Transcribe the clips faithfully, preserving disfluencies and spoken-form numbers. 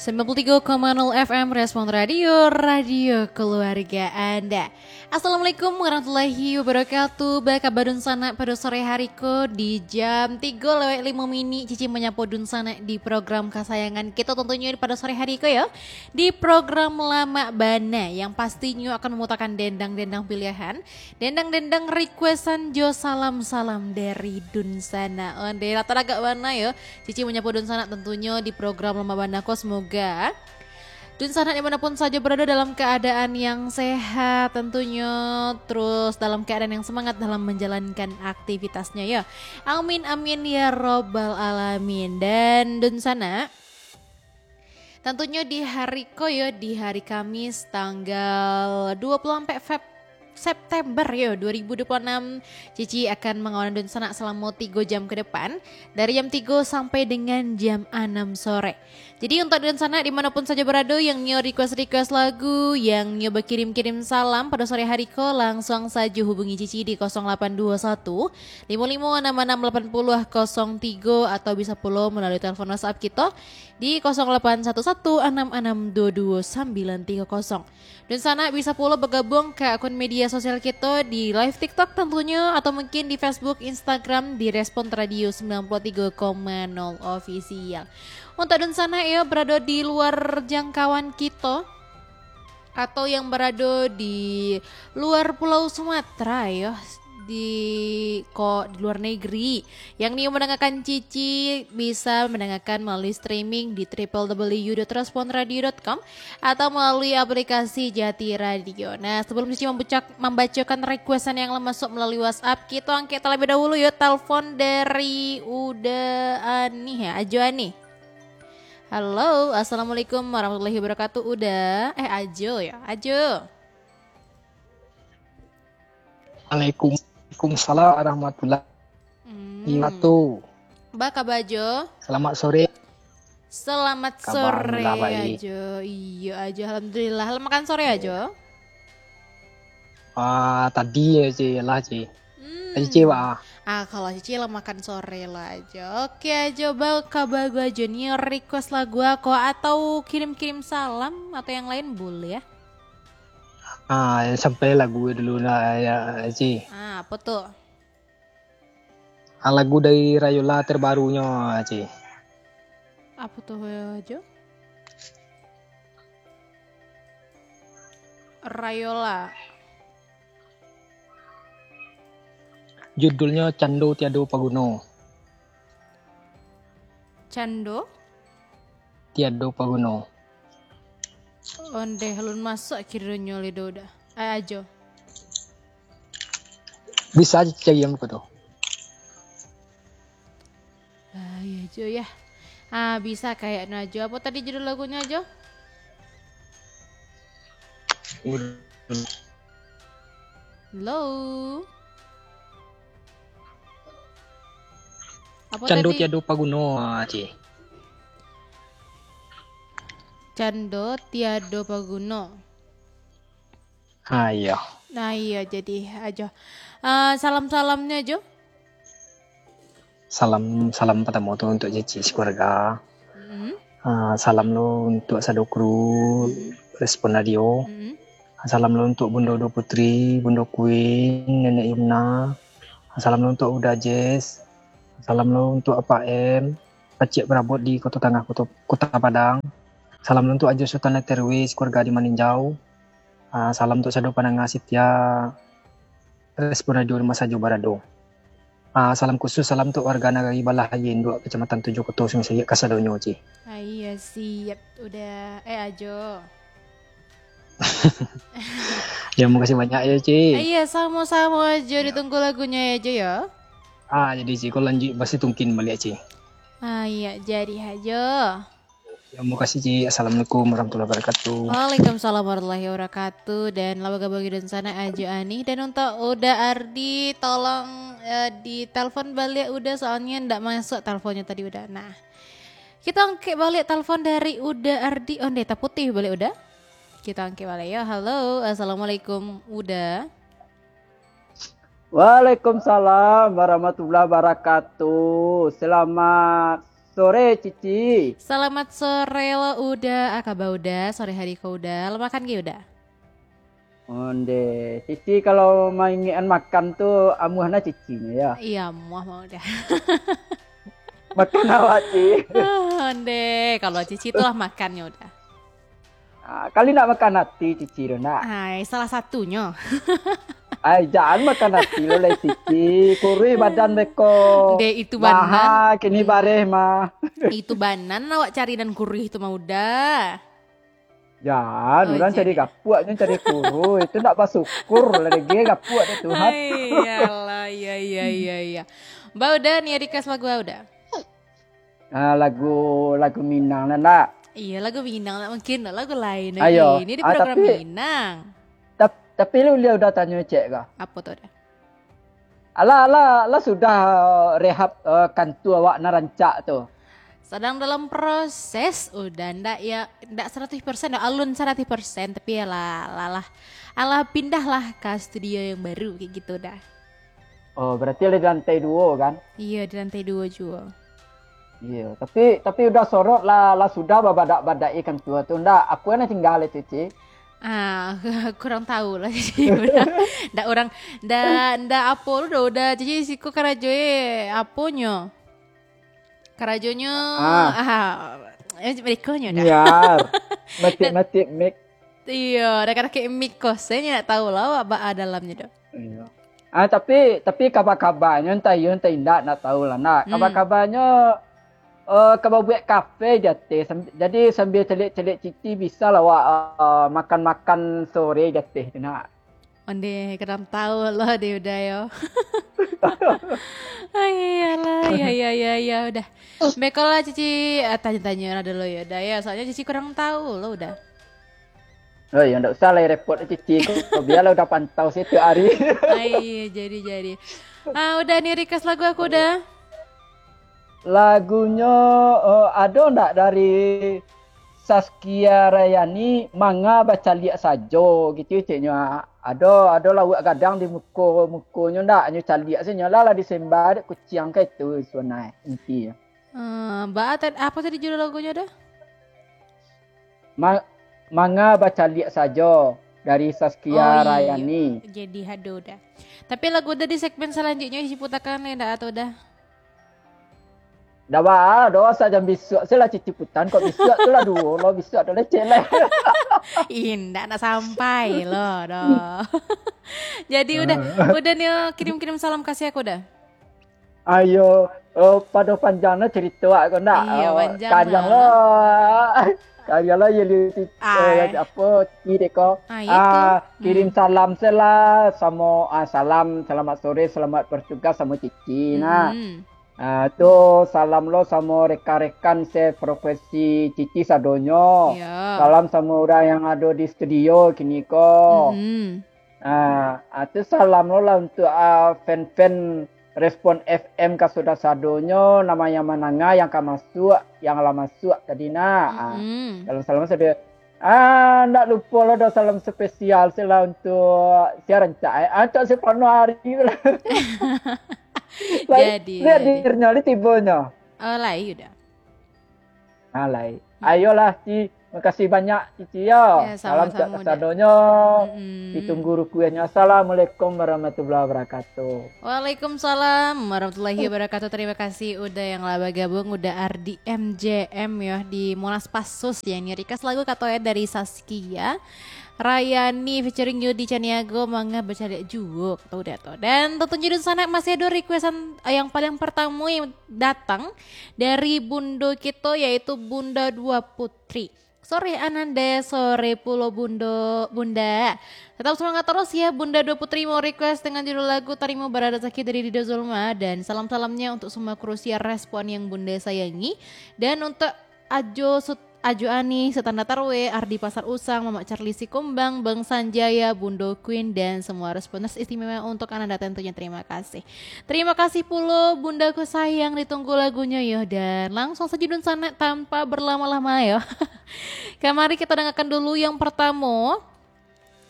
Sembilan puluh tiga koma nol F M Respon Radio, radio keluarga Anda. Assalamualaikum warahmatullahi wabarakatuh. Baa kaba dunsanak pado sore hari ko di jam tigo lewat limo minik, Cici manyapo dunsanak di program kasayangan kito, tantunyo pado sore hari ko yo, di program Lamak Bana, yang pastinyo akan mamutakan dendang-dendang pilihan, dendang-dendang requestan jo salam-salam dari dunsanak. Onde lah, taragak bana yo. Cici manyapo dunsanak tantunyo di program Lamak Bana ko. Semoga dunsanak di mana pun sajo barado dalam keadaan yang sehat tantunyo, terus dalam keadaan yang semangat dalam menjalankan aktivitasnyo yo. Amin, amin, ya robbal alamin. Dan dunsanak, tantunyo di hari ko yo, di hari Kamis tanggal dua puluh empat Feb-, September yo, dua ribu dua puluh enam, Cici akan mangawan dunsanak salamo tigo jam ke depan, dari jam tigo sampai dengan jam anam sore. Jadi, untuak dunsanak di mana pun sajo barado, yang nio request-request lagu, yang nio bakirim-kirim salam pado sore hari ko, langsuang sajo hubungi Cici di kosong lapan dua satu, limo limo anam anam lapan puluh kosong tigo, atau bisa pulo malalui telepon WhatsApp kito di kosong lapan satu satu anam anam dua dua sambilan tiga kosong. Dunsanak bisa pulo bagabuang ka akun media sosial kito di live TikTok tantunyo, atau mungkin di Facebook, Instagram di Respon Radio sembilan puluh tiga koma nol Official. Untuak dunsanak yo barado di luar jangkauan kito, atau yang barado di luar Pulau Sumatera yo, di ko-, di luar negeri, yang nio mandangakan Cici bisa mandangakan malalui streaming di triple W dot respon radio dot com atau malalui aplikasi Jati Radio. Nah, sebelum Cici mambucak-, mambacokan requestan yang lah masuk malalui WhatsApp, kito angkek talabiah dahulu yo, telepon dari Uda Anih yo, Ajo Anih. Halo, assalamualaikum warahmatullahi wabarakatuh, Uda. Eh, Ajo yo, Ajo. Waalaikumsalam warahmatullahi Hmm. wabarakatuh. Baa kaba, Ajo? Selamat sore. Selamat Kaba sore, alhamdulillah baik. Ajo. Iyo, Ajo, alhamdulillah. Lah makan sore, Ajo? Ah, tadi yo, Ci, lah, Ci. Hmm. Tadi, Ci, Pak. Ah, kalau Cici lah makan sore lah, Ajo. Oke, Ajo, baa kaba, Ajo, nio request lagu ako atau kirim-kirim salam atau yang lain boleh yo. Ah, sampai lagu dulu lah yo, Ci. Ah, apo tu? Ah, lagu dari Rayola terbarunyo, Ci. Apo tu, Ajo? Rayola. Judulnyo Cando Tiado Paguno. Cando? Tiado Paguno. Ondeh, alun masuak kironyo lido Uda. Eh, Ajo. Bisa Cici cari yang ko tu. Ah, iyo, Ajo, yo. Ah, bisa kayaknyo, Ajo. Apo tadi judul lagunyo, Ajo? Halo? Apo Cando tadi? Tiado Paguno, ah, Ci. Cando Tiado Paguno. Ah, iyo. Nah, iyo, jadi, Ajo. Ah, salam-salamnyo, Ajo. Salam, salam partamo tu untuak Cici sakeluarga. Mm. Ah, salam lo untuak sado kru Mm. Respon Radio. Mm. Salam lo untuak Bundo Uda Putri, Bundo Queen, Nenek Yumna. Salam lo untuak Uda Jess. Salam lo untuak Apak M, pacik parabot di Koto Tangah, Koto, Kota Padang. Salam lo untuak Ajo Sultan Leterwis, keluarga di Maninjau. Ah, salam untuak sado pandanga setia Respon Radio di ma sajo barado. Ah, salam khusus, salam untuak warga nagari Balahaie, Induak, Kecamatan Tujuh Koto, Sungai Sariak, kasadonyo, Ci. Ah, iyo, siap, Uda. Eh, Ajo. Yo, makasih banyak yo, Ci. Ah, iyo, samo-samo, Ajo. Yo. Ditunggu lagunyo yo, Ajo, yo. Ah, jadi, Ci, ko lanjuik basitungkin baliak, Ci. Ah, iyo, jadi, Ajo. Yo, makasih, Ci. Assalamualaikum warahmatullahi wabarakatuh. Waalaikumsalam warahmatullahi wabarakatuh. Dan lah bagabuang dunsanak, Ajo Anih. Dan untuak Uda Ardi, tolong, eh, ditelepon baliak Uda, soalnyo ndak masuak teleponnyo tadi, Uda. Nah, kito angkek baliak telepon dari Uda Ardi. Ondeh, taputuih baliak, Uda. Kito angkek baliak yo. Halo, assalamualaikum, Uda. Waalaikumsalam warahmatullahi wabarakatuh. Selamat sore, Cici. Salamat sore lo, Uda. Aka ba Uda, sore hari ko Uda. Lah makan ge, Uda? Onde, Cici kalau maingekan makan tu amuah na Cicinyo, yo? Iyo, amuah mah Uda. Makan awak, Ci. Ah, onde, kalau Cici tu lah makannyo Uda. Ah, kali nak makan ati, Cici tu nak. Ai, salah satunyo. Ai, jan makan ati lo lai, Cici. Kuruih badan beko. Dek, itu banan. Maha kini bareh mah. Itu banan awak cari nan kuruih tu mah Uda. Jan, oh, urang cari gapuak, nyo cari kuruih. Itu nak basyukur lah dek gapuak dek Tuhan. Ai, iyalah, iya, iya, iya, iya. Ba Uda, ni request lagu Uda? Ah, lagu, lagu Minang lah, nak? Iya, lagu Minang lah. Mungkin lagu lain. Ayo. Ini di ah, program tapi, Minang. Tap-, tapi lu liau udah tanyo cek kah? Apa tu dah? Alah, alah, alah sudah, eh, rehab, eh, kantua awak nan rancak tu. Sadang dalam proses, udah ndak ya, ndak seratus persen dah, alun seratus persen, tapi ya lah, lah, lah. Alah pindahlah ka studio yang baru, kayak gitu dah. Oh, berarti lah di lantai duo, kan? Iya, di lantai duo juo. Iya, tapi, tapi udah sorot lah, lah sudah babadak-badak ikan tua tu. Ndak, apa yang tinggal itu, Ci? Ah, kurang tahu lah. Ndak orang, ndak, ndak apa lu dah, udah. Jadi siko karajo eh, aponyo? Karajonyo, ah, ah, eh, mereka nyo dah. Niar. Matik-matik mik. Iyo, dah kada kayak mik kos, saya ndak tahu lah awak ba dalamnya dah. Iya. Ah, tapi, tapi kabar-kabarnyo, entah iyo, entah indak, ndak tahu lah, nak. Hmm. Kabar-kabarnyo, eh, kabar buat kafe di ateh. Sam-, jadi, sambil caliak-caliak Cici, bisa lah awak, eh, makan-makan sore di ateh tu, nak. Onde, kadang tahu lah dia udah, yo. Ai, iyalah, ya, ya, ya, ya, udah. Beko lah, Cici, ah, tanya-tanya lah dulu, ya, udah, ya. Soalnya Cici kurang tahu lah, udah. Oh, ya, ndak usah lah repot, Cici. Kok biarlah udah pantau setiap hari. Ai, jadi, jadi. Ah, udah nih, request lagu aku udah. Lagunyo, eh, ado ndak dari Saskia Rayani, Manga Bacaliak Sajo, gitu ceknyo. Ado, ado lauak gadang di muko, mukonyo ndak, nyo caliak se nyo lah, lah disemba dek kuciang ka itu, suanai, inti. Eh, ba, ta-, apa tadi judul lagunyo dah? Ma-, Manga Bacaliak Sajo dari Saskia Rayani. Oh, iyo. Jadi hado dah. Tapi lagu udah di segmen selanjutnya isi putakan le ndak atau dah? Dah ba, doh, sajam bisuak se lah Cici putan, kok bisuak tu lah duo lo, bisuak tu leceh lah. Indak nak sampai lo, doh. Jadi udah, udah ni, kirim-kirim salam kasih aku dah. Ayo, oh, pado panjang no cerito aku ndak. Iyo, oh, panjang kalian lah. Lo. Kalian lah, ya, li-, eh, apo, ti deko. Ah, itu. Ah, kirim salam se lah, samo, ah, salam, selamat sore, selamat bertugas samo Cici, nak. Hmm. Ah, tu salam lo samo rekan-rekan seprofesi Cici sadonyo. Iya. Salam samo urang yang ado di studio kini ko. Mm-mm. Ah, ah, tu salam lo lah untuk, ah, fan-fan Respon F M ka sudah sadonyo, nama yang mananga yang ka masuak, yang lah masuak tadi nak. Ah, mm-mm. Salam-salam sado. Ah, ndak lupo lo doh salam spesial se lah untuk sia rancak, eh. Ah, Cok Silvano Ari tu lah. Lai, jadi, lai jadi. Hadirnyo, lai tibonyo. Oh, lai udah. Ah, lai. Hmm. Ayolah, Ci. Makasih banyak, Cici, yo. Ya, salam sama-sama, Cak Uda. Sadonyo. Mm-mm. Ditunggu requestnyo. Assalamualaikum warahmatullahi wabarakatuh. Waalaikumsalam warahmatullahi wabarakatuh. Terima kasih udah yang lah bergabung, udah R D M J M yo di Monas Pasus yang ini request lagu kato ya dari Saskia Rayani featuring Yudi Caniago, Manga Bacaliak Juo, kato udah to. Dan tentunya di sana masih ada requestan yang paling pertama yang datang dari Bundo kito, yaitu Bunda Dua Putri. Sore Ananda, sore pulo Bundo, Bunda. Tetap semangat terus ya, Bunda Dua Putri mau request dengan judul lagu Tarimo Bararasaki dari Rido Zulma. Dan salam-salamnya untuk semua kru siar Respon yang Bunda sayangi. Dan untuk Ajo Sut-, Ajo Ani, Setanda Tarwe, Ardi Pasar Usang, Mamak Charlie Sikumbang, Bang Sanjaya, Bundo Queen, dan semua Responers istimewa untuk Ananda tentunya. Terima kasih. Terima kasih pulo, Bundaku sayang, ditunggu lagunya yo. Dan langsung saja dun sanak tanpa berlama-lama yo. Kamari kita dengarkan dulu yang pertama.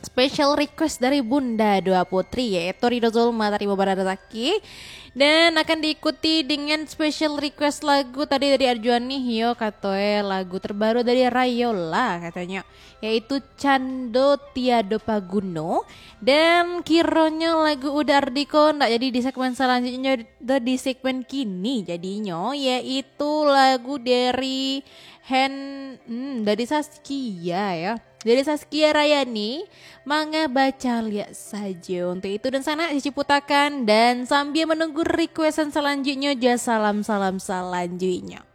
Special request dari Bunda Dua Putri, yaitu Rido Zulma Tarimo Bararasaki. Dan akan diikuti dengan special request lagu tadi dari Arjuani, yo, katoe lagu terbaru dari Rayola, katonyo, yaitu Cando Tiado Paguno. Dan kironyo lagu Uda Ardiko ndak jadi di segmen selanjutnyo, tu di segmen kini jadinyo, yaitu lagu dari Hen, hmm, dari Saskia, ya. Dari Saskia Rayani, Manga Bacaliak Sajo. Untuk itu dan sanak, Cici putakan dan sambil menunggu requestan selanjutnyo, jo salam-salam selanjutnyo.